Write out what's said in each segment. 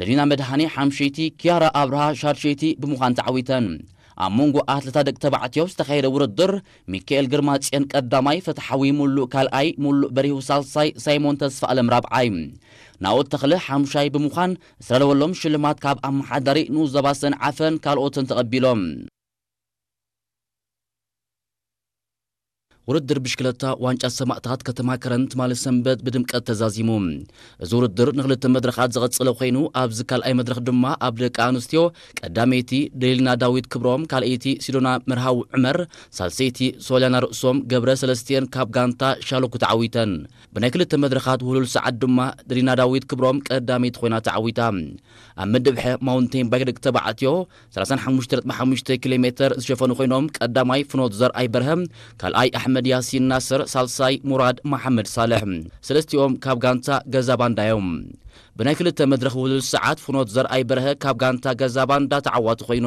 ደሊና መድሃኔ ሓምሸይቲ፣ ኪያራ ኣብርሃ ሻድሸይቲ ብምዃን ተዓዊተን። ኣብ መንጎ ኣትለታት ደቂ ተባዕትዮ ዝተኻየደ ውድድር፣ ሚካኤል ግርማ ጽዮን ቀዳማይ፣ ፍትሓዊ ሙሉእ ካልኣይ፣ ሙሉእ በሪሁ ሳልሳይ፣ ሳይሞን ተስፋ ኣለም ራብዓይ፣ ናኦድ ተኽለ ሓምሻይ ብምዃን ዝተዳለወሎም ሽልማት ካብ ኣመሓዳሪ ንኡስ ዞባ ሰንዓፈን ካልኦትን ተቐቢሎም። ውድድር ብሽክለታ ዋንጫ ሰማእታት ከተማ ከረን ትማሊ ሰንበት ብድምቀት ተዛዚሙ። እዚ ውድድር ንክልተ መድረኻት ዝቐጸለ ኮይኑ፣ ኣብዚ ካልኣይ መድረኽ ድማ ኣብ ደቂ ኣንስትዮ ቀዳመይቲ ደሊና ዳዊት ክብሮም፣ ካልኣይቲ ሲዶና መርሃዊ ዑመር፣ ሳልሰይቲ ሶልያና ርእሶም ገብረ ሰለስቲኤን ካብ ጋንታ ሻሎኩ ተዓዊተን። ብናይ ክልተ መድረኻት ውህሉል ሰዓት ድማ ደሊና ዳዊት ክብሮም ቀዳመይቲ ኮይና ተዓዊታ። ኣብ ምድብ ሐ ማውንቴን ባይክ ደቂ ተባዕትዮ ሰላሳን ሓሙሽተ ነጥቢ ሓሙሽተ ኪሎ ሜተር ዝሸፈኑ ኮይኖም፣ ቀዳማይ ፍኖት ዘርኣይ በርሀ፣ ካልኣይ ኣሕመድ ያሲን ናስር፣ ሳልሳይ ሙራድ መሓመድ ሳልሕ። ሰለስቲኦም ካብ ጋንታ ገዛ ባንዳ እዮም። ብናይ ክልተ መድረኽ ውድድር ሰዓት ፍኖት ዘርኣይ በርሀ ካብ ጋንታ ገዛ ባንዳ ተዓዋቲ ኮይኑ።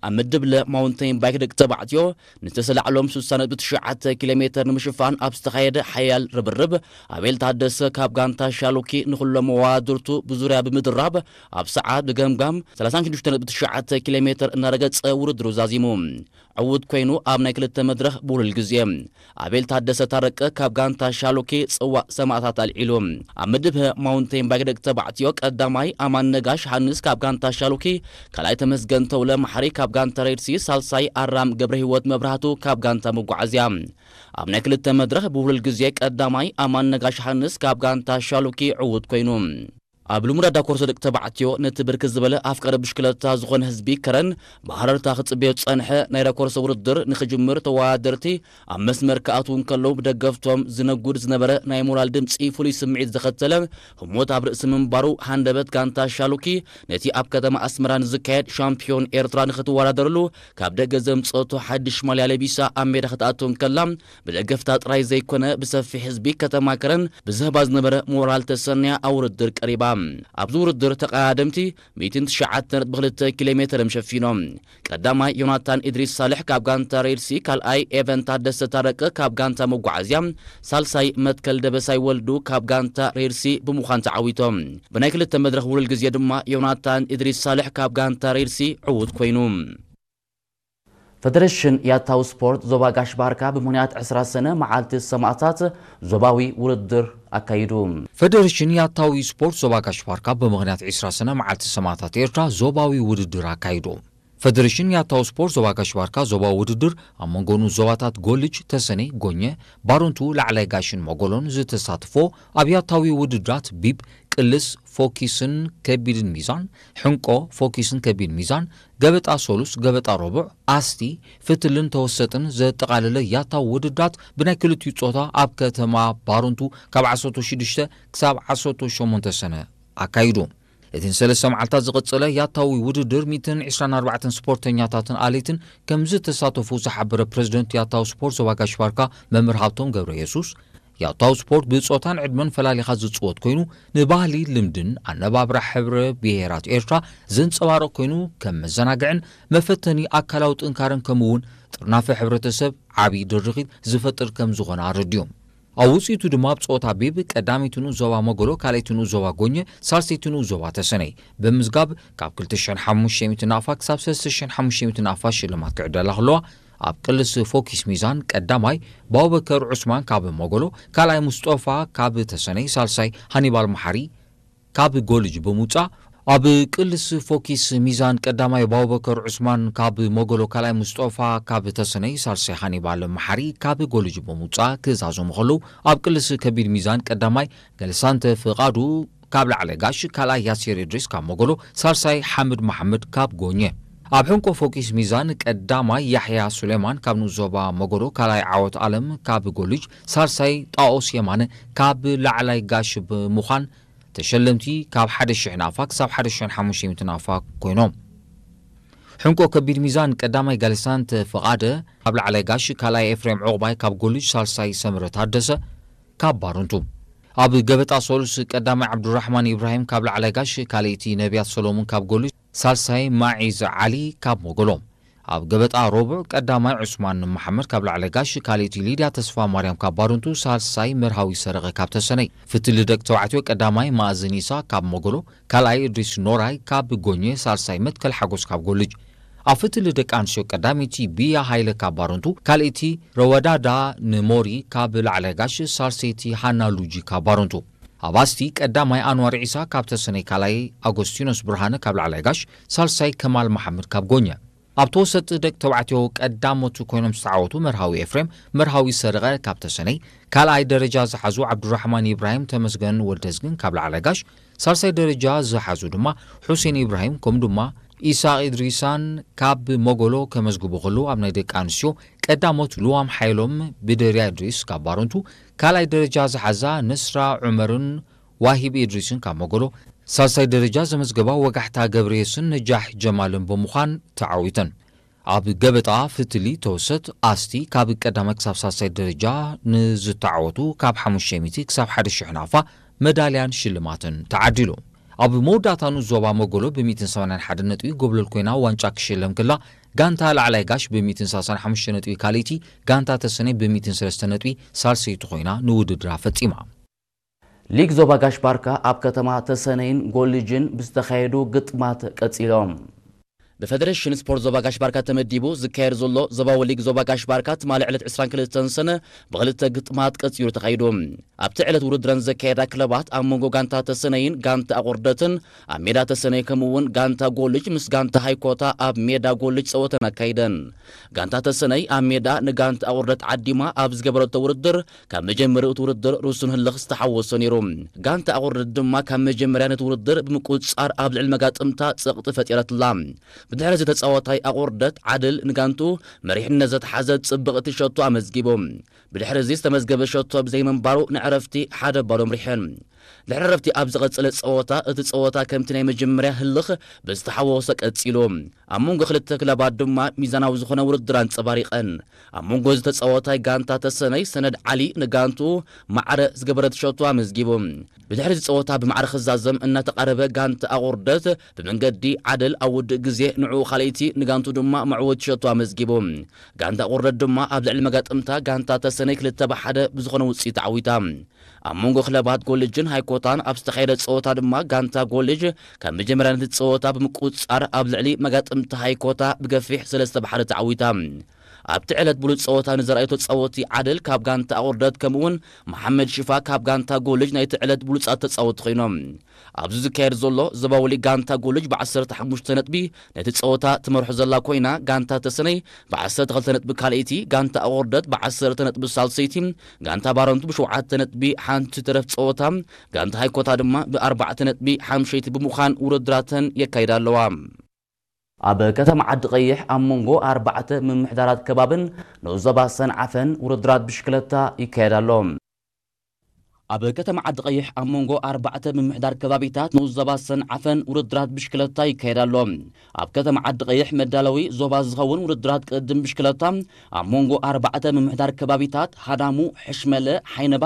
ኣብ ምድብ ለ ማውንቴን ባይክ ደቂ ተባዕትዮ ንዝተሰላዕሎም ስሳ ነጥቢ ትሽዓተ ኪሎ ሜተር ንምሽፋን ኣብ ዝተኻየደ ሓያል ርብርብ፣ ኣቤል ታደሰ ካብ ጋንታ ሻሎኪ ንኹሎም መዋድርቱ ብዙርያ ብምድራብ ኣብ ሰዓት ብገምጋም ሰላሳን ሽዱሽተ ነጥቢ ትሽዓተ ኪሎ ሜተር እናረገጸ ውድድሩ ዛዚሙ። ዕዉት ኮይኑ ኣብ ናይ ክልተ መድረኽ ብውህሉል ግዜ ኣቤል ታደሰ ታረቀ ካብ ጋንታ ሻሎኪ ጽዋእ ሰማእታት ኣልዒሉ። ኣብ ምድብ ሀ ማውንቴን ባይክ ደቂ ተባዕትዮ ቀዳማይ ኣማን ነጋሽ ሃንስ ካብ ጋንታ ሻሎኪ፣ ካልኣይ ተመስገን ተውለ ማሕሪ ካብ ጋንታ ሬድሲ፣ ሳልሳይ ኣራም ገብረ ህይወት መብራህቱ ካብ ጋንታ መጓዓዝያ። ኣብ ናይ ክልተ መድረኽ ብውህሉል ግዜ ቀዳማይ ኣማን ነጋሽ ሃንስ ካብ ጋንታ ሻሎኪ ዕዉት ኮይኑ። ኣብ ልሙድ ኣዳኮርሶ ደቂ ተባዕትዮ ነቲ ብርክት ዝበለ ኣፍቃሪ ብሽክለታ ዝኾነ ህዝቢ ከረን ብሃረርታ ክጽበዮ ዝጸንሐ ናይ ዳኮርሶ ውድድር ንኽጅምር ተወዳደርቲ ኣብ መስመር ክኣትዉ እንከለዉ ብደገፍቶም ዝነጉድ ዝነበረ ናይ ሞራል ድምጺ ፍሉይ ስምዒት ዘኸተለ ህሞት ኣብ ርእሲ ምንባሩ ሃንደበት ጋንታ ሻሉኪ ነቲ ኣብ ከተማ ኣስመራ ንዝካየድ ሻምፒዮን ኤርትራ ንኽትወዳደርሉ ካብ ደገ ዘምጸቶ ሓድሽ ማልያ ለቢሳ ኣብ ሜዳ ክትኣቱ እንከላ ብደገፍታ ጥራይ ዘይኮነ ብሰፊሕ ህዝቢ ከተማ ከረን ብዝህባ ዝነበረ ሞራል ተሰንያ ኣብ ውድድር ቀሪባ። ኣብዚ ውድድር ተቐዳደምቲ ሚእትን ትሽዓተ ነጥቢ ክልተ ኪሎ ሜተር እዮም ሸፊኖም። ቀዳማይ ዮናታን ኢድሪስ ሳልሕ ካብ ጋንታ ሬድሲ፣ ካልኣይ ኤቨን ታደሰ ታረቀ ካብ ጋንታ መጓዓዝያ፣ ሳልሳይ መትከል ደበሳይ ወልዱ ካብ ጋንታ ሬድሲ ብምዃን ተዓዊቶም። ብናይ ክልተ መድረኽ ውልል ግዜ ድማ ዮናታን ኢድሪስ ሳልሕ ካብ ጋንታ ሬድሲ ዕዉት ኮይኑ። ፈደረሽን ያታው ስፖርት ዞባ ጋሽ ባርካ ብምኽንያት ዕስራ ሰነ መዓልቲ ሰማእታት ዞባዊ ውድድር ኣካይዱ። ፈደረሽን ያታዊ ስፖርት ዞባ ጋሽ ባርካ ብምኽንያት ዕስራ ሰነ መዓልቲ ሰማእታት ኤርትራ ዞባዊ ውድድር ኣካይዱ። ፈደረሽን ያታው ስፖርት ዞባ ጋሽ ባርካ ዞባዊ ውድድር ኣብ መንጎ ንኡስ ዞባታት ጎልጅ፣ ተሰነይ፣ ጎኘ፣ ባሮንቱ፣ ላዕላይ ጋሽን መጎሎን ዝተሳትፎ ኣብ ያታዊ ውድድራት ቢብ፣ ቅልስ፣ ፎኪስን ከቢድን ሚዛን፣ ሕንቆ፣ ፎኪስን ከቢድ ሚዛን፣ ገበጣ ሶሉስ፣ ገበጣ ረቡዕ፣ ኣስቲ፣ ፍትልን ተወሰጥን ዘጠቓለለ ያታዊ ውድድራት ብናይ ክልቲኡ ጾታ ኣብ ከተማ ባሮንቱ ካብ ዓሰርተ ሽዱሽተ ክሳብ ዓሰርተ ሸሞንተ ሰነ ኣካይዱ። እቲ ንሰለስተ መዓልታት ዝቐጸለ ያታዊ ውድድር ሚእትን ዕስራን ኣርባዕተን ስፖርተኛታትን ኣሌትን ከም ዝተሳተፉ ዝሓበረ ፕረዚደንት ያታዊ ስፖርት ዞባ ጋሽ ባርካ መምህር ሃብቶም ገብረ የሱስ፣ ያታዊ ስፖርት ብጾታን ዕድመን ፈላሊኻ ዝጽወት ኮይኑ፣ ንባህሊ፣ ልምድን ኣነባብራ ሕብረ ብሄራት ኤርትራ ዘንጸባርቕ ኮይኑ፣ ከም መዘናግዕን መፈተኒ ኣካላዊ ጥንካረን ከምኡ እውን ጥርናፈ ሕብረተሰብ ዓቢ ድርኺት ዝፈጥር ከም ዝኾነ ኣረድዮም። ኣብ ውጽኢቱ ድማ ኣብ ጸወታ ቢብ ቀዳመይቲ ንኡስ ዞባ መጎሎ፣ ካልኣይቲ ንኡስ ዞባ ጎኘ፣ ሳልሰይቲ ንኡስ ዞባ ተሰነይ ብምዝጋብ ካብ ክልተ ሽሕን ሓሙሽተ ሚእትን ናቕፋ ክሳብ ሰለስተ ሽሕን ሓሙሽተ ሚእትን ናቕፋ ሽልማት ክዕደላ ከለዋ፣ ኣብ ቅልስ ፎኪስ ሚዛን ቀዳማይ ብኣቡበከር ዑስማን ካብ መጎሎ፣ ካልኣይ ሙስጦፋ ካብ ተሰነይ፣ ሳልሳይ ሃኒባል መሓሪ ካብ ጎልጅ ብምውጻእ፣ ኣብ ቅልስ ፎኪስ ሚዛን ቀዳማይ ባቡበከር ዑስማን ካብ መጎሎ፣ ካልኣይ ሙስጦፋ ካብ ተሰነይ፣ ሳልሳይ ሃኒባል መሓሪ ካብ ጎልጅ ብምውጻእ ክዛዘሙ ከለዉ፣ ኣብ ቅልስ ከቢድ ሚዛን ቀዳማይ ገልሳንተ ፍቓዱ ካብ ላዕለ ጋሽ፣ ካልኣይ ያሲር እድሪስ ካብ መጎሎ፣ ሳልሳይ ሓምድ መሓመድ ካብ ጎኘ። ኣብ ሕንቆ ፎኪስ ሚዛን ቀዳማይ ያሕያ ሱሌማን ካብ ንኡስ ዞባ መጎሎ፣ ካልኣይ ዓወት ኣለም ካብ ጎልጅ፣ ሳልሳይ ጣኦስ የማነ ካብ ላዕላይ ጋሽ ብምዃን ተሸለምቲ ካብ ሓደ ሽሕ ናቕፋ ክሳብ ሓደ ሽሕን ሓሙሽተ ሚእትን ናቕፋ ኮይኖም። ሕንቆ ከቢድ ሚዛን ቀዳማይ ጋልሳንተ ፍቓደ ካብ ላዕላይ ጋሽ፣ ካልኣይ ኤፍሬም ዑቕባይ ካብ ጎልጅ፣ ሳልሳይ ሰምረ ታደሰ ካብ ባረንቱ። ኣብ ገበጣ ሶሉስ ቀዳማይ ዓብዱራሕማን ኢብራሂም ካብ ላዕላይ ጋሽ፣ ካልኣይቲ ነቢያት ሰሎሙን ካብ ጎልጅ፣ ሳልሳይ ማዒዝ ዓሊ ካብ ሞጎሎ። ኣብ ገበጣ ረቡዕ ቀዳማይ ዑስማን መሓመድ ካብ ላዕለጋሽ፣ ካልኣይቲ ሊድያ ተስፋ ማርያም ካብ ባረንቱ፣ ሳልሳይ መርሃዊ ሰረቐ ካብ ተሰነይ። ፍትሊ ደቂ ተባዕትዮ ቀዳማይ ማእዝን ኢሳ ካብ መጎሎ፣ ካልኣይ እድሪስ ኖራይ ካብ ጎኘ፣ ሳልሳይ መትከል ሓጎስ ካብ ጎልጅ። ኣብ ፍትሊ ደቂ ኣንስትዮ ቀዳመይቲ ቢያ ሃይለ ካብ ባረንቱ፣ ካልኣይቲ ረወዳዳ ንሞሪ ካብ ላዕለጋሽ፣ ሳልሰይቲ ሃና ሉጂ ካብ ባረንቱ። ኣብ ኣስቲ ቀዳማይ ኣንዋር ዒሳ ካብ ተሰነይ፣ ካልኣይ ኣጎስቲኖስ ብርሃነ ካብ ላዕለጋሽ፣ ሳልሳይ ከማል መሓመድ ካብ ጎኘ። ኣብ ተወሰጥቲ ደቂ ተባዕትዮ ቀዳሞት ኮይኖም ዝተዓወቱ መርሃዊ ኤፍሬም፣ መርሃዊ ሰረቐ ካብ ተሰነይ፣ ካልኣይ ደረጃ ዝሓዙ ዓብዱራሕማን ኢብራሂም፣ ተመስገን ወልደዝግን ካብ ላዕለጋሽ፣ ሳልሳይ ደረጃ ዝሓዙ ድማ ሑሴን ኢብራሂም ከምኡ ድማ ኢሳቕ ኢድሪሳን ካብ መጎሎ ከመዝግቡ ከለዉ፣ ኣብ ናይ ደቂ ኣንስትዮ ቀዳሞት ልዋም ሓይሎም ብደርያ ኢድሪስ ካብ ባረንቱ፣ ካልኣይ ደረጃ ዝሓዛ ነስራ ዑመርን ዋሂብ ኢድሪስን ካብ መጎሎ፣ ሳልሳይ ደረጃ ዘመዝገባ ወጋሕታ ገብረየስን ነጃሕ ጀማልን ብምዃን ተዓዊተን። ኣብ ገበጣ ፍትሊ ተወሰት ኣስቲ ካብ ቀዳማይ ክሳብ ሳልሳይ ደረጃ ንዝተዓወቱ ካብ ሓሙሽተ ሚእቲ ክሳብ ሓደ ሽሕ ናፋ መዳልያን ሽልማትን ተዓዲሉ። ኣብ መወዳእታ ንዞባ መጎሎ ብ ሚእትን ሰማንያን ሓደን ነጥቢ ጎብለል ኮይና ዋንጫ ክሽለም ክላ፣ ጋንታ ላዕላይ ጋሽ ብ ሚእትን ሰላሳን ሓሙሽተ ነጥቢ ካልኣይቲ፣ ጋንታ ተሰነይ ብ ሚእትን ሰለስተ ነጥቢ ሳልሰይቲ ኮይና ንውድድራ ፈጺማ። ሊግ ዞባ ጋሽ ባርካ ኣብ ከተማ ተሰነይን ጎልጅን ብዝተኻየዱ ግጥማት ቀጺሎም። ብፌደሬሽን ስፖርት ዞባ ጋሽ ባርካ ተመዲቡ ዝካየድ ዘሎ ዞባዊ ሊግ ዞባ ጋሽ ባርካ ትማሊ ዕለት ዕስራን ክልተን ሰነ ብኽልተ ግጥማት ቀጺሉ ተኻይዱ። ኣብቲ ዕለት ውድድረን ዘካየዳ ክለባት ኣብ መንጎ ጋንታ ተሰነይን ጋንታ ኣቑርደትን ኣብ ሜዳ ተሰነይ ከምኡ እውን ጋንታ ጎልጅ ምስ ጋንታ ሃይኮታ ኣብ ሜዳ ጎልጅ ጸወተን ኣካይደን። ጋንታ ተሰነይ ኣብ ሜዳ ንጋንታ ኣቑርደት ዓዲማ ኣብ ዝገበረቶ ውድድር ካብ መጀመርያ እቲ ውድድር ርሱን ህልኽ ዝተሓወሶ ነይሩ። ጋንታ ኣቑርደት ድማ ካብ መጀመርያ ነቲ ውድድር ብምቁጽጻር ኣብ ልዕሊ መጋጥምታ ጸቕጢ ፈጢረትላ። ብድሕሪ እዚ ተጻዋታይ ኣቑርደት ዓድል ንጋንቱ መሪሕነት ዘትሓዘ ጽብቕቲ ሸቶ ኣመዝጊቡ። ብድሕሪ እዚ ዝተመዝገበ ሸቶ ብዘይምንባሩ ንዕረፍቲ ሓደ ባዶ ኣምሪሐን። ድሕሪ ዕረፍቲ ኣብ ዝቐጸለ ጸወታ እቲ ጸወታ ከምቲ ናይ መጀመርያ ህልኽ ብዝተሓወሶ ቀጺሉ። ኣብ መንጎ ክልተ ክለባት ድማ ሚዛናዊ ዝኾነ ውድድር ኣንጸባሪቐን። ኣብ መንጎ እዚ ተጻዋታይ ጋንታ ተሰነይ ሰነድ ዓሊ ንጋንቱ ማዕረ ዝገበረት ሸቶ ኣመዝጊቡ። ብድሕሪ እዚ ጸወታ ብማዕረ ክዛዘም እናተቓረበ ጋንታ ኣቑርደት ብመንገዲ ዓደል ኣብ ውድእ ግዜ ንዕኡ ካልኣይቲ ንጋንቱ ድማ መዕወቲ ሸቶ ኣመዝጊቡ። ጋንታ ኣቑርደት ድማ ኣብ ልዕሊ መጋጥምታ ጋንታ ተሰነይ ክልተ ብሓደ ብዝኾነ ውጽኢት ተዓዊታ። ኣብ መንጎ ክለባት ጎልጅን ሃይኮታን ኣብ ዝተኻየደ ጸወታ ድማ ጋንታ ጎልጅ ካብ መጀመርያ ነቲ ጸወታ ብምቁጽጻር ኣብ ልዕሊ መጋጥምቲ ሃይኮታ ብገፊሕ ሰለስተ ብሓደ ተዓዊታ። ኣብቲ ዕለት ብሉጽ ጸወታ ንዘርኣየቶ ጸወቲ ዓደል ካብ ጋንታ ኣቑርደት ከምኡውን መሓመድ ሽፋ ካብ ጋንታ ጎልጅ ናይቲ ዕለት ብሉጻት ተጻወቲ ኮይኖም። ኣብዚ ዝካየድ ዘሎ ዞባዊ ሊግ ጋንታ ጎልጅ ብዓሰርተ ሓሙሽተ ነጥቢ ነቲ ጸወታ ትመርሖ ዘላ ኮይና፣ ጋንታ ተሰነይ ብዓሰርተ ክልተ ነጥቢ ካልኣይቲ፣ ጋንታ ኣቑርደት ብዓሰርተ ነጥቢ ሳልሰይቲ፣ ጋንታ ባረንቱ ብሸውዓተ ነጥቢ ሓንቲ ተረፍ ጸወታ፣ ጋንታ ሃይኮታ ድማ ብኣርባዕተ ነጥቢ ሓምሸይቲ ብምዃን ውድድራተን የካይዳ ኣለዋ። ኣብ ከተማ ዓዲ ቀይሕ ኣብ መንጎ ኣርባዕተ ምምሕዳራት ከባብን ንኡስ ዞባ ሰንዓፈን ውድድራት ብሽክለታ ይካየድ ኣሎ። ኣብ ከተማ ዓዲ ቀይሕ ኣብ መንጎ ኣርባዕተ ምምሕዳር ከባቢታት ንኡስ ዞባ ሰንዓፈን ውድድራት ብሽክለታ ይካየድ ኣሎ። ኣብ ከተማ ዓዲ ቀይሕ መዳለዊ ዞባ ዝኸውን ውድድራት ቅድም ብሽክለታ ኣብ መንጎ ኣርባዕተ ምምሕዳር ከባቢታት ሃዳሙ፣ ሕሽመለ፣ ሓይነባ፣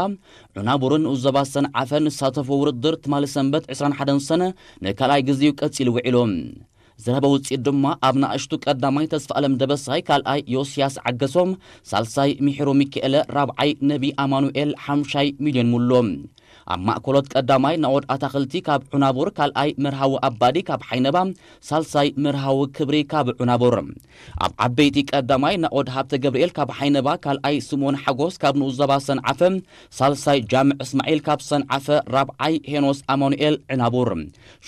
ዑናቡርን ንኡስ ዞባ ሰንዓፈን ዝሳተፎ ውድድር ትማሊ ሰንበት ዕስራን ሓደን ሰነ ንካልኣይ ግዜኡ ቀጺሉ ውዒሉ። ዝረኸበ ውጽኢት ድማ ኣብ ንኣሽቱ ቀዳማይ ተስፋ ኣለም ደበሳይ፣ ካልኣይ ዮስያስ ዓገሶም፣ ሳልሳይ ሚሕሩ ሚካኤለ፣ ራብዓይ ነቢ ኣማኑኤል፣ ሓምሻይ ሚልዮን ሙሉ። ኣብ ማእከሎት ቀዳማይ ናኦድ ኣታኽልቲ ካብ ዑናቡር፣ ካልኣይ መርሃዊ ኣባዲ ካብ ሓይነባ፣ ሳልሳይ መርሃዊ ክብሪ ካብ ዑናቡር። ኣብ ዓበይቲ ቀዳማይ ናኦድ ሃብተ ገብርኤል ካብ ሓይነባ፣ ካልኣይ ስምኦን ሓጎስ ካብ ንኡስ ዞባ ሰንዓፈ፣ ሳልሳይ ጃምዕ እስማዒል ካብ ሰንዓፈ፣ ራብዓይ ሄኖስ ኣማኑኤል ዕናቡር።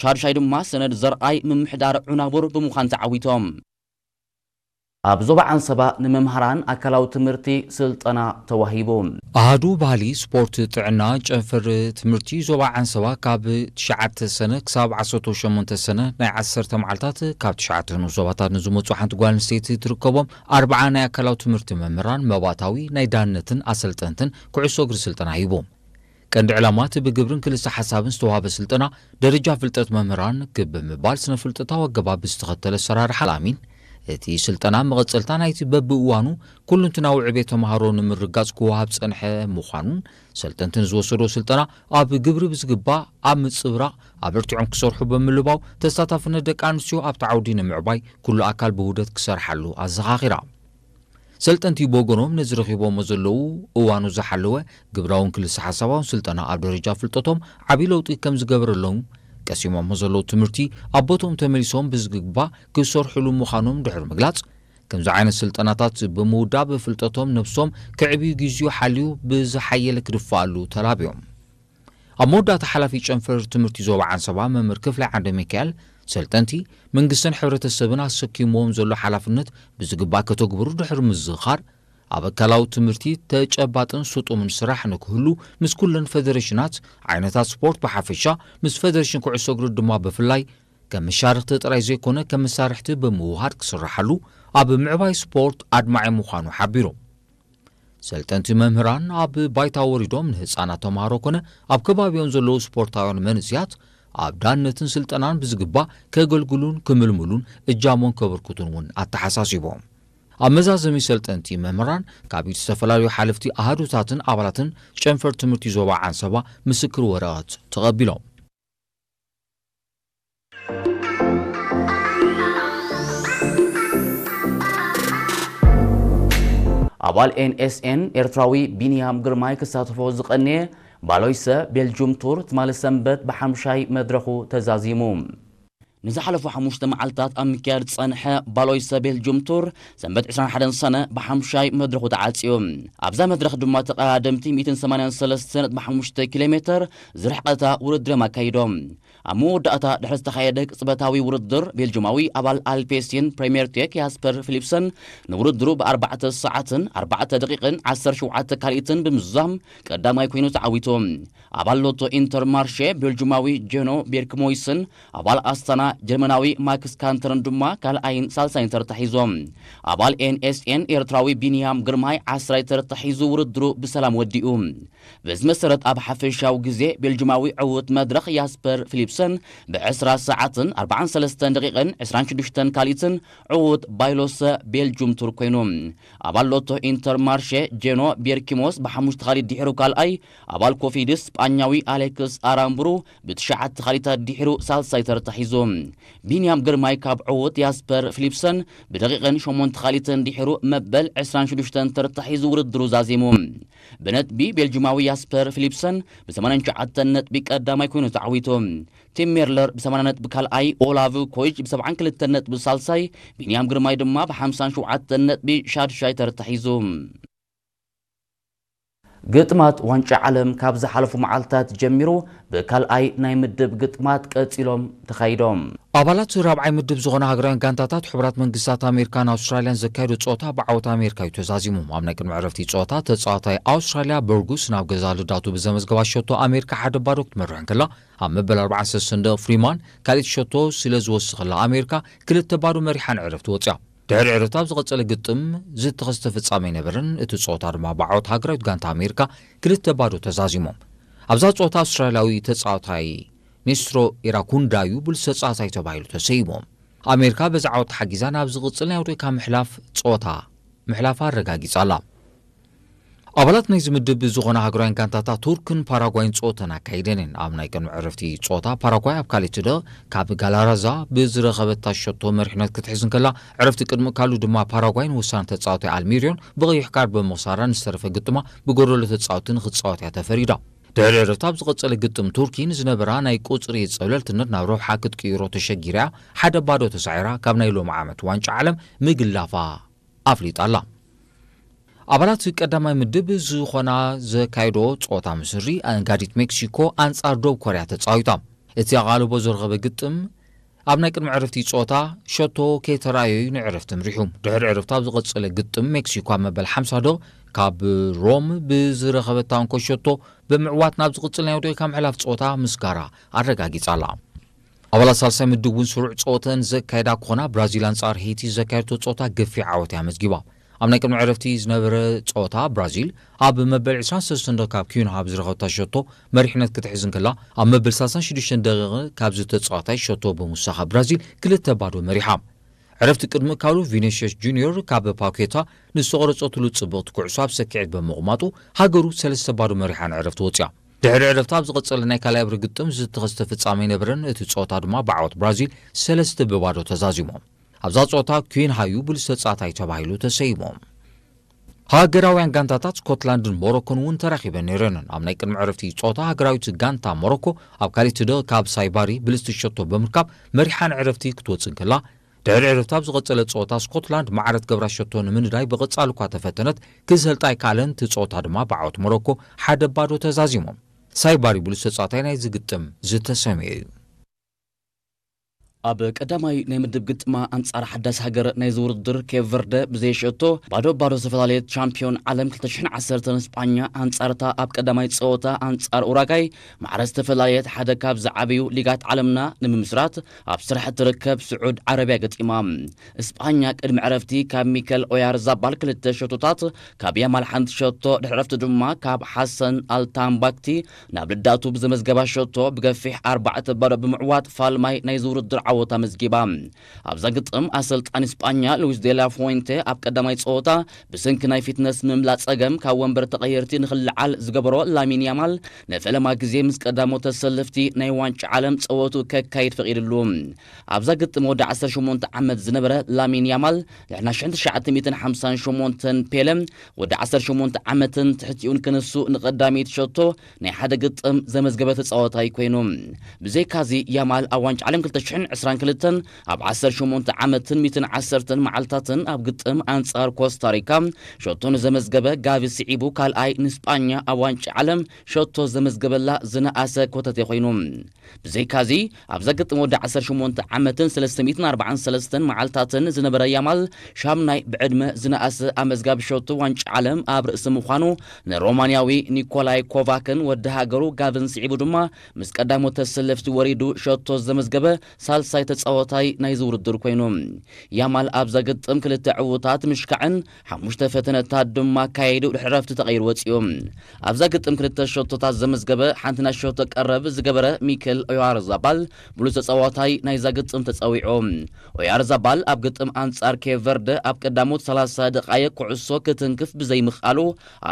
ሻድሻይ ድማ ሰነድ ዘርኣይ ምምሕዳር ዑናቡር ብምዃን ተዓዊቶም። ኣብ ዞባ ዓንሰባ ንመምሃራን ኣካላዊ ትምህርቲ ስልጠና ተዋሂቡ። ኣሃዱ ባህሊ፣ ስፖርት፣ ጥዕና፣ ጨንፈር ትምህርቲ ዞባ ዓንሰባ ካብ ትሽዓተ ሰነ ክሳብ ዓሰርተ ሸሞንተ ሰነ ናይ ዓሰርተ መዓልታት ካብ ትሽዓተ ንኡስ ዞባታት ንዝመጹ ሓንቲ ጓል ኣንስተይቲ ትርከቦም ኣርብዓ ናይ ኣካላዊ ትምህርቲ መምህራን መባእታዊ ናይ ዳንነትን ኣሰልጠንትን ኩዕሶ እግሪ ስልጠና ሂቡ። ቀንዲ ዕላማ እቲ ብግብርን ክልሰ ሓሳብን ዝተዋህበ ስልጠና፣ ደረጃ ፍልጠት መምህራን ክብ ብምባል ስነ ፍልጠታዊ ኣገባብ ዝተኸተለ ኣሰራርሓ ኣላሚን እቲ ስልጠና መቐጸልታ ናይቲ በብእዋኑ ኩሉንትናዊ ዕቤት ተምሃሮ ንምርጋጽ ክወሃብ ጸንሐ ምዃኑን፣ ሰልጠንቲ ንዝወሰዶ ስልጠና ኣብ ግብሪ ብዝግባእ ኣብ ምጽብራቕ ኣበርቲዖም ክሰርሑ ብምልባው፣ ተሳታፍነት ደቂ ኣንስትዮ ኣብቲ ዓውዲ ንምዕባይ ኩሉ ኣካል ብውህደት ክሰርሓሉ ኣዘኻኺራ። ሰልጠንቲ ብወገኖም ነዚ ረኺቦሞ ዘለዉ እዋኑ ዝሓለወ ግብራውን ክልሰ ሓሳባውን ስልጠና ኣብ ደረጃ ፍልጠቶም ዓቢ ለውጢ ከም ዝገበረሎም፣ ቀሲሞሞ ዘለዉ ትምህርቲ ኣብ ቦትኦም ተመሊሶም ብዝግባእ ክሰርሕሉ ምዃኖም ድሕሪ ምግላጽ፣ ከምዚ ዓይነት ስልጠናታት ብምውዳብ ፍልጠቶም ነብሶም ከዕብዩ ግዜኡ ሓልዩ ብዝሓየለ ክድፍኣሉ ተላብዮም። ኣብ መወዳእታ ሓላፊ ጨንፈር ትምህርቲ ዞባ ዓንሰባ መምህር ክፍላይ ዓንደ ሚካኤል፣ ሰልጠንቲ መንግስትን ሕብረተሰብን ኣሰኪምዎም ዘሎ ሓላፍነት ብዝግባእ ከተግብሩ ድሕሪ ምዝኻር፣ ኣብ ኣካላዊ ትምህርቲ ተጨባጥን ስጡምን ስራሕ ንክህሉ ምስ ኩለን ፈደሬሽናት ዓይነታት ስፖርት ብሓፈሻ ምስ ፈደሬሽን ኩዕሶ እግሪ ድማ ብፍላይ ከም መሻርክቲ ጥራይ ዘይኮነ ከም መሳርሕቲ ብምውሃድ ክስራሓሉ ኣብ ምዕባይ ስፖርት ኣድማዒ ምዃኑ ሓቢሩ። ሰልጠንቲ መምህራን ኣብ ባይታ ወሪዶም ንህፃናት ተምሃሮ ኮነ ኣብ ከባቢኦም ዘለዉ ስፖርታውያን መንእስያት ኣብ ዳንነትን ስልጠናን ብዝግባእ ከገልግሉን ክምልምሉን እጃሞን ከበርክቱን እውን ኣተሓሳሲቦም። ኣብ መዛዘሚ ሰልጠንቲ መምህራን ካብ ዝተፈላለዩ ሓለፍቲ ኣሃዱታትን ኣባላትን ጨንፈር ትምህርቲ ዞባ ዓንሰባ ምስክር ወረቐት ተቐቢሎም። ኣባል ኤንኤስኤን ኤርትራዊ ቢንያም ግርማይ ክሳተፎ ዝቐነየ ባሎይሰ ቤልጁም ቱር ትማሊ ሰንበት ብሓምሻይ መድረኹ ተዛዚሙ። ንዝሓለፉ ሓሙሽተ መዓልታት ኣብ ምክያድ ዝጸንሐ ባሎይሰ ቤልጁም ቱር ሰንበት ዕስራን ሓደን ሰነ ብሓምሻይ መድረኹ ተዓጽዩ። ኣብዛ መድረኽ ድማ ተቐዳደምቲ ሚእትን ሰማንያን ሰለስተን ነጥቢ ሓሙሽተ ኪሎ ሜተር ዝርሕቐታ ውድድር እዮም ኣካይዶም። ኣብ መወዳእታ ድሕሪ ዝተኻየደ ቅጽበታዊ ውድድር፣ ቤልጁማዊ ኣባል ኣልፔሲን ፕሬምየር ቴክ ያስፐር ፊሊፕሰን ንውድድሩ ብኣርባዕተ ሰዓትን ኣርባዕተ ደቂቕን ዓሰርተ ሸውዓተ ካልኢትን ብምዝዛም ቀዳማይ ኮይኑ ተዓዊቱ። ኣባል ሎቶ ኢንተርማርሼ ቤልጁማዊ ጀኖ ቤርክሞይስን ኣባል ኣስታና ጀርመናዊ ማክስ ካንተርን ድማ ካልኣይን ሳልሳይን ተርታ ሒዞም። ኣባል ኤንኤስኤን ኤርትራዊ ቢንያም ግርማይ ዓስራይ ተርታ ሒዙ ውድድሩ ብሰላም ወዲኡ። በዚ መሰረት ኣብ ሓፈሻዊ ግዜ ቤልጅማዊ ዕዉት መድረኽ ያስፐር ፊሊፕሰን ብዕስራ ሰዓትን ኣርባዓን ሰለስተን ደቂቕን ዕስራን ሽዱሽተን ካልኢትን ዕዉት ባይሎሰ ቤልጁም ቱር ኮይኑ። ኣባል ሎቶ ኢንተርማርሼ ጄኖ ቤርኪሞስ ብሓሙሽተ ካልኢት ድሒሩ ካልኣይ፣ ኣባል ኮፊድስ ስጳኛዊ ኣሌክስ ኣራምብሩ ብትሽዓተ ካልኢታት ድሒሩ ሳልሳይ ተርታ ሒዙ። ቢንያም ግርማይ ካብ ዕዉት ያስፐር ፊሊፕሰን ብደቂቕን ሸሞንተ ካልኢትን ድሒሩ መበል ዕስራን ሽዱሽተን ተርታ ሒዙ ውድድሩ ዛዚሙ። ብነጥቢ ቤልጅማዊ ያስፐር ፊሊፕሰን ብ ሰማንያን ትሽዓተን ነጥቢ ቀዳማይ ኮይኑ ተዓዊቱ። ቲም ሜርለር ብ ሰማንያ ነጥቢ ካልኣይ፣ ኦላቭ ኮይጅ ብ ሰብዓን ክልተን ነጥቢ ሳልሳይ፣ ቢንያም ግርማይ ድማ ብ ሓምሳን ሸውዓተን ነጥቢ ሻድሻይ ተርታ ሒዙ። ግጥማት ዋንጫ ዓለም ካብ ዝሓለፉ መዓልታት ጀሚሩ ብካልኣይ ናይ ምድብ ግጥማት ቀጺሎም ተኻይዶም። ኣባላት ራብዓይ ምድብ ዝኾና ሃገራውያን ጋንታታት ሕቡራት መንግስታት ኣሜሪካን ኣውስትራልያን ዘካየዶ ጸወታ ብዓወት ኣሜሪካ እዩ ተዛዚሙ። ኣብ ናይ ቅድሚ ዕረፍቲ ጸወታ ተጻዋታይ ኣውስትራልያ በርጉስ ናብ ገዛ ልዳቱ ብዘመዝገባ ሸቶ ኣሜሪካ ሓደ ባዶ ክትመርሕ እንከላ፣ ኣብ መበል ኣርባዓን ሰለስተን ደቂቕ ፍሪማን ካልኣይቲ ሸቶ ስለ ዝወሰኸላ ኣሜሪካ ክልተ ባዶ መሪሓ ንዕረፍቲ ወጽያ። ድሕሪ ዕረፍቲ ኣብ ዝቐጸለ ግጥም ዝተኸስተ ፍጻመ ኣይነበረን። እቲ ጸወታ ድማ ብዓወት ሃገራዊት ጋንታ ኣሜሪካ ክልተ ባዶ ተዛዚሞም። ኣብዛ ጸወታ ኣውስትራልያዊ ተጻዋታይ ኔስትሮ ኢራኩንዳ እዩ ብሉጽ ተጻዋታይ ተባሂሉ ተሰይሙ። ኣሜሪካ በዚ ዓወት ተሓጊዛ ናብ ዝቕጽል ናይ ኣውሮፓ ምሕላፍ ጸወታ ምሕላፋ ኣረጋጊጻ ኣላ። ኣባላት ናይዚ ምድብ ዝኾና ሃገራውያን ጋንታታት ቱርክን ፓራጓይን ጸወተን ኣካይደን እየን። ኣብ ናይ ቅድሚ ዕረፍቲ ጸወታ ፓራጓይ ኣብ ካልኣይቲ ደቂቕ ካብ ጋላራዛ ብዝረኸበታ ሸቶ መሪሕነት ክትሕዝ እንከላ፣ ዕረፍቲ ቅድሚ ካሉ ድማ ፓራጓይ ንወሳኒ ተጻዋታይ ኣልሚርዮን ብቐይሕ ካርድ ብምኽሳራ ንዝተረፈ ግጥማ ብጎደሎ ተጻወትቲ ንኽትጻወት እያ ተፈሪዳ። ድሕሪ ዕረፍቲ ኣብ ዝቐጸለ ግጥም ቱርኪ ንዝነበራ ናይ ቁጽሪ ጸብለልትነት ናብ ረብሓ ክትቅይሮ ተሸጊራ እያ ሓደ ባዶ ተሳዒራ ካብ ናይ ሎሚ ዓመት ዋንጫ ዓለም ምግላፋ ኣፍሊጣ ኣላ። ኣባላት ቀዳማይ ምድብ ዝኾና ዘካየዶ ጸወታ ምስሪ ኣንጋዲት ሜክሲኮ ኣንጻር ደቡብ ኮርያ ተጻዊታ። እቲ ኣቓልቦ ዝረኸበ ግጥም ኣብ ናይ ቅድሚ ዕረፍቲ ጸወታ ሸቶ ከይተራእየ እዩ ንዕረፍቲ ምሪሑ። ድሕሪ ዕረፍቲ ኣብ ዝቐጸለ ግጥም ሜክሲኮ ኣብ መበል ሓምሳ ደቂቕ ካብ ሮም ብዝረኸበታ እንኮ ሸቶ ብምዕዋት ናብ ዝቕጽል ናይ ኣውሮፓ ምሕላፍ ጸወታ ምስጋራ ኣረጋጊጻ ኣላ። ኣባላት ሳልሳይ ምድብ እውን ስሩዕ ጸወተን ዘካየዳ ክኾና፣ ብራዚል ኣንጻር ሄይቲ ዘካየደቶ ጸወታ ገፊሕ ዓወት እያ ኣመዝጊባ። ኣብ ናይ ቅድሚ ዕረፍቲ ዝነበረ ጸወታ ብራዚል ኣብ መበል ዕስራን ሰለስተን ደቂቕ ካብ ኪዩንሃ ብዝረኸበታ ሸቶ መሪሕነት ክትሕዝ እንከላ፣ ኣብ መበል ሰላሳን ሽዱሽተን ደቂቕ ካብዚ ተጻዋታይ ሸቶ ብምውሳኻ ብራዚል ክልተ ባዶ መሪሓ። ዕረፍቲ ቅድሚ ምእካሉ ቪኒሽየስ ጁኒዮር ካብ ፓኬታ ንዝተቖረጸትሉ ጽብቕቲ ኩዕሶ ኣብ ሰኪዔት ብምቕማጡ ሃገሩ ሰለስተ ባዶ መሪሓ ንዕረፍቲ ወጺኣ። ድሕሪ ዕረፍቲ ኣብ ዝቐጸለ ናይ ካልኣይ እብሪ ግጥም ዝተኸስተ ፍጻመ ኣይነበረን። እቲ ጸወታ ድማ ብዓወት ብራዚል ሰለስተ ብባዶ ተዛዚሙ። ኣብዛ ጸወታ ኩዊንሃ እዩ ብሉጽ ተጻዋታይ ተባሂሉ ተሰይሙ። ሃገራውያን ጋንታታት ስኮትላንድን ሞሮኮን እውን ተራኺበን ነይረን። ኣብ ናይ ቅድሚ ዕረፍቲ ጸወታ ሃገራዊት ጋንታ ሞሮኮ ኣብ ካልእ ትዶ ካብ ሳይባሪ ብልጽቲ ሸቶ ብምርካብ መሪሓ ንዕረፍቲ ክትወጽእ እንከላ፣ ድሕሪ ዕረፍቲ ኣብ ዝቐጸለ ጸወታ ስኮትላንድ ማዕረ ትገብራ ሸቶ ንምንዳይ ብቐጻሊ እኳ ተፈተነት፣ ክሰልጣ ኣይከኣለን። እቲ ጸወታ ድማ ብዓወት ሞሮኮ ሓደ ባዶ ተዛዚሙ። ሳይባሪ ብሉጽ ተጻዋታይ ናይዚ ግጥም ዝተሰምየ እዩ። ኣብ ቀዳማይ ናይ ምድብ ግጥማ ኣንጻር ሓዳስ ሃገር ናይዚ ውድድር ኬፕ ቨርደ ብዘይ ሸቶ ባዶ ባዶ ዝተፈላለየት ቻምፒዮን ዓለም ክልተ ሽሕን ዓሰርተን ስጳኛ ኣንጻርታ ኣብ ቀዳማይ ጸወታ ኣንጻር ኡራጋይ ማዕረ ዝተፈላለየት ሓደ ካብ ዝዓበዩ ሊጋት ዓለምና ንምምስራት ኣብ ስራሕ እትርከብ ስዑድ ዓረብያ ገጢማ። ስጳኛ ቅድሚ ዕረፍቲ ካብ ሚከል ኦያርዛባል ክልተ ሸቶታት፣ ካብ ያማል ሓንቲ ሸቶ፣ ድሕሪ ዕረፍቲ ድማ ካብ ሓሰን ኣልታምባክቲ ናብ ልዳቱ ብዘመዝገባ ሸቶ ብገፊሕ ኣርባዕተ ባዶ ብምዕዋት ፋልማይ ናይዚ ውድድር ዓወት ኣመዝጊባ። ኣብዛ ግጥም ኣሰልጣኒ ስጳኛ ሉዊስ ዴላ ፎንቴ ኣብ ቀዳማይ ጸወታ ብሰንኪ ናይ ፊትነስ ምምላእ ጸገም ካብ ወንበር ተቐየርቲ ንኽልዓል ዝገበሮ ላሚን ያማል ንፈለማ ግዜ ምስ ቀዳሞት ተሰለፍቲ ናይ ዋንጫ ዓለም ጸወቱ ከካይድ ፈቒድሉ። ኣብዛ ግጥም ወዲ ዓሰርተ ሸሞንተ ዓመት ዝነበረ ላሚን ያማል ድሕሪ ናይ ሽሕን ትሽዓተ ሚእትን ሓምሳን ሸሞንተን ፔለ ወዲ ዓሰርተ ሸሞንተ ዓመትን ትሕቲኡን ክንሱ ንቐዳመይቲ ሸቶ ናይ ሓደ ግጥም ዘመዝገበ ተጻዋታይ ኮይኑ። ብዘይካዚ ያማል ኣብ ዋንጫ ዓለም ክልተ ሽሕን ዕስራን ክልተን ኣብ ዓሰርተ ሸሞንተ ዓመትን ሚእትን ዓሰርተን መዓልታትን ኣብ ግጥም ኣንጻር ኮስታሪካ ሸቶ ንዘመዝገበ ጋቪ ስዒቡ ካልኣይ ንስጳኛ ኣብ ዋንጫ ዓለም ሸቶ ዘመዝገበላ ዝነኣሰ ኮተቴ ኮይኑ። ብዘይካዚ ኣብዛ ግጥም ወዲ ዓሰርተ ሸሞንተ ዓመትን ሰለስተ ሚእትን ኣርባዓን ሰለስተን መዓልታትን ዝነበረ ያማል ሻምናይ ብዕድመ ዝነኣሰ ኣመዝጋቢ ሸቶ ዋንጫ ዓለም ኣብ ርእሲ ምዃኑ ንሮማንያዊ ኒኮላይ ኮቫክን ወዲ ሃገሩ ጋቪን ስዒቡ ድማ ምስ ቀዳሞት ተሰለፍቲ ወሪዱ ሸቶ ዘመዝገበ ሳልሳይ ተጻዋታይ ናይዚ ውድድር ኮይኑ። ያማል ኣብዛ ግጥም ክልተ ዕዉታት ምሽካዕን ሓሙሽተ ፈተነታት ድማ ኣካይዱ ድሕሪ ዕረፍቲ ተቐይሩ ወጺኡ። ኣብዛ ግጥም ክልተ ሸቶታት ዘመዝገበ ሓንቲ ናይ ሸቶ ቀረብ ዝገበረ ሚከል ኦያርዛባል ብሉጽ ተጻዋታይ ናይዛ ግጥም ተጸዊዑ። ኦያርዛባል ኣብ ግጥም ኣንጻር ኬፕ ቨርደ ኣብ ቀዳሞት ሰላሳ ደቓይቕ ኩዕሶ ክትንክፍ ብዘይምኽኣሉ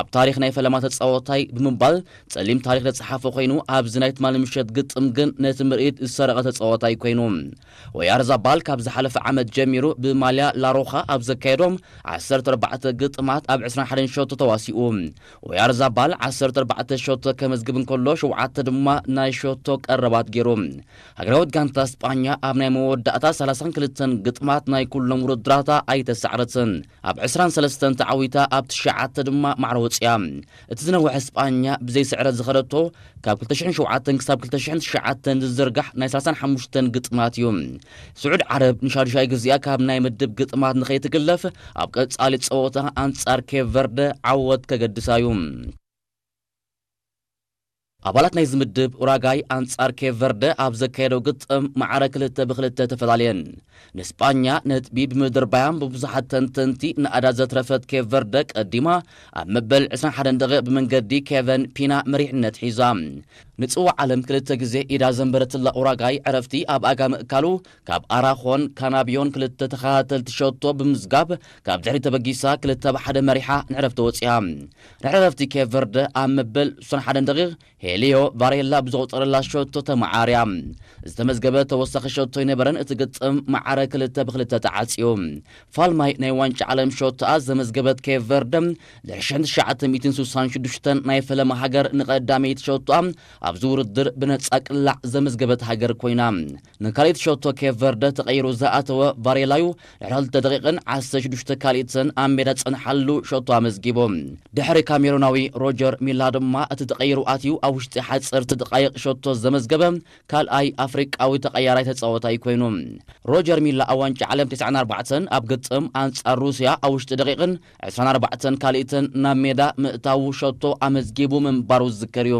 ኣብ ታሪኽ ናይ ፈለማ ተጻዋታይ ብምባል ጸሊም ታሪኽ ዝጸሓፈ ኮይኑ፣ ኣብዚ ናይ ትማሊ ምሸት ግጥም ግን ነቲ ምርኢት ዝሰረቐ ተጻዋታይ ኮይኑ። ኦያርዛባል ካብ ዝሓለፈ ዓመት ጀሚሩ ብማልያ ላሮኻ ኣብ ዘካየዶም ዓሰርተ ኣርባዕተ ግጥማት ኣብ ዕስራን ሓደን ሸቶ ተዋሲኡ። ኦያርዛባል ዓሰርተ ኣርባዕተ ሸቶ ከመዝግብ እንከሎ፣ ሸውዓተ ድማ ናይ ሸቶ ቀረባት ገይሩ። ሃገራዊት ጋንታ ስጳኛ ኣብ ናይ መወዳእታ ሰላሳን ክልተን ግጥማት ናይ ኩሎም ውድድራታ ኣይተሳዕረትን። ኣብ ዕስራን ሰለስተን ተዓዊታ ኣብ ትሽዓተ ድማ ማዕረ ወጺኣ። እቲ ዝነውሐ ስጳኛ ብዘይ ስዕረት ዝኸደቶ ካብ ክልተ ሽሕን ሸውዓተን ክሳብ ክልተ ሽሕን ትሽዓተን ዝዝርጋሕ ናይ ሰላሳን ሓሙሽተን ግጥማት እዩ። ስዑድ ዓረብ ንሻዱሻይ ግዜኣ ካብ ናይ ምድብ ግጥማት ንኸይትግለፍ ኣብ ቀጻሊ ጸወታ ኣንጻር ኬፕ ቨርደ ዓወት ከገድሳ እዩ። ኣባላት ናይዚ ምድብ ኡራጋይ ኣንጻር ኬፕ ቨርደ ኣብ ዘካየደው ግጥም ማዕረ ክልተ ብክልተ ተፈላለየን። ንስጳኛ ነጥቢ ብምድርባያን ብብዙሓት ተንተንቲ ንኣዳ ዘትረፈት ኬፕ ቨርደ ቀዲማ ኣብ መበል ዕስራን ሓደን ደቂቕ ብመንገዲ ኬቨን ፒና መሪሕነት ሒዛ። ንጽዋዕ ዓለም ክልተ ግዜ ኢዳ ዘንበረትላ ኡራጋይ ዕረፍቲ ኣብ ኣጋ ምእካሉ ካብ ኣራኾን ካናብዮን ክልተ ተኸታተልቲ ሸቶ ብምዝጋብ ካብ ድሕሪ ተበጊሳ ክልተ ብሓደ መሪሓ ንዕረፍቲ ወጺኣ። ድሕሪ ዕረፍቲ ኬፕ ቨርደ ኣብ መበል ዕስራን ሓደን ደቂቕ ሄልዮ ቫሬላ ብዘቑጸረላ ሸቶ ተመዓርያ። ዝተመዝገበ ተወሳኺ ሸቶ ኣይነበረን። እቲ ግጥም ማዕረ ክልተ ብክልተ ተዓጽዩ። ፋልማይ ናይ ዋንጫ ዓለም ሸቶኣ ዘመዝገበት ኬፕ ቨርደ ድሕሪ ሽሕን ትሽዓተ ሚእትን ስሳን ሽዱሽተን ናይ ፈለማ ሃገር ንቐዳመይቲ ሸቶኣ ኣብዚ ውድድር ብነጻ ቅላዕ ዘመዝገበት ሃገር ኮይና። ንካልኣይቲ ሸቶ ኬፕ ቨርደ ተቐይሩ ዝኣተወ ቫሬላዩ ድሕሪ ክልተ ደቂቕን ዓሰርተ ሽዱሽተ ካልኢትን ኣብ ሜዳ ዝጸንሓሉ ሸቶ ኣመዝጊቡ። ድሕሪ ካሜሩናዊ ሮጀር ሚላ ድማ እቲ ተቐይሩ ኣትዩ ኣብ ውሽጢ ሓጸርቲ ደቓይቕ ሸቶ ዘመዝገበ ካልኣይ ኣፍሪቃዊ ተቐያራይ ተጻዋታይ ኮይኑ። ሮጀር ሚላ ኣብ ዋንጫ ዓለም ተስዓን ኣርባዕተን ኣብ ግጥም ኣንጻር ሩስያ ኣብ ውሽጢ ደቂቕን ዕስራን ኣርባዕተን ካልኢትን ናብ ሜዳ ምእታዉ ሸቶ ኣመዝጊቡ ምንባሩ ዝዝከር እዩ።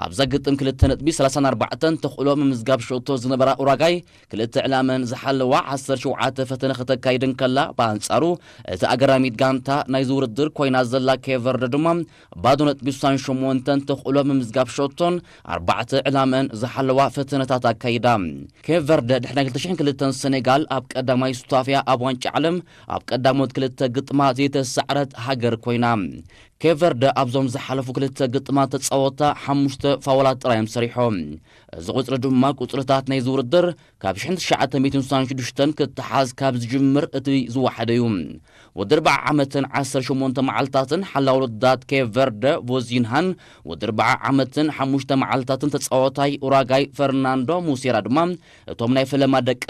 ኣብዛ ግጥም ክልተ ነጥቢ ሰላሳን ኣርባዕተን ተኽእሎ ምምዝጋብ ሸቶ ዝነበራ ኡራጋይ፣ ክልተ ዕላመን ዝሓለዋ ዓሰርተ ሸውዓተ ፈተነ ከተካይድ እንከላ፣ ብኣንጻሩ እቲ ኣገራሚት ጋንታ ናይዚ ውድድር ኮይና ዘላ ኬቨርደ ድማ ባዶ ነጥቢ ስሳን ሸሞንተን ተኽእሎ ምምዝጋብ ሸቶን ኣርባዕተ ዕላመን ዝሓለዋ ፈተነታት ኣካይዳ። ኬቨርደ ድሕሪ ናይ ክልተ ሽሕን ክልተን ሰኔጋል ኣብ ቀዳማይ ሱታፍያ ኣብ ዋንጫ ዓለም ኣብ ቀዳሞት ክልተ ግጥማ ዘይተሳዕረት ሃገር ኮይና። ኬቨርደ ኣብዞም ዝሓለፉ ክልተ ግጥማት ተጻወታ ሓሙሽተ ፋውላት ጥራይ እዮም ሰሪሖም። እዚ ቁጽሪ ድማ ቁጽርታት ናይዚ ውድድር ካብ ሽሕን ትሽዓተ ሚእትን ስሳን ሽዱሽተን ክተሓዝ ካብ ዝጅምር እቲ ዝወሓደ እዩ። ወዲ ኣርብዓ ዓመትን ዓሰርተ ሸሞንተ መዓልታትን ሓላው ውድድራት ኬቨርደ ቮዚንሃን ወዲ ኣርብዓ ዓመትን ሓሙሽተ መዓልታትን ተጻዋታይ ኡራጋይ ፈርናንዶ ሙሴራ ድማ እቶም ናይ ፈለማ ደቂ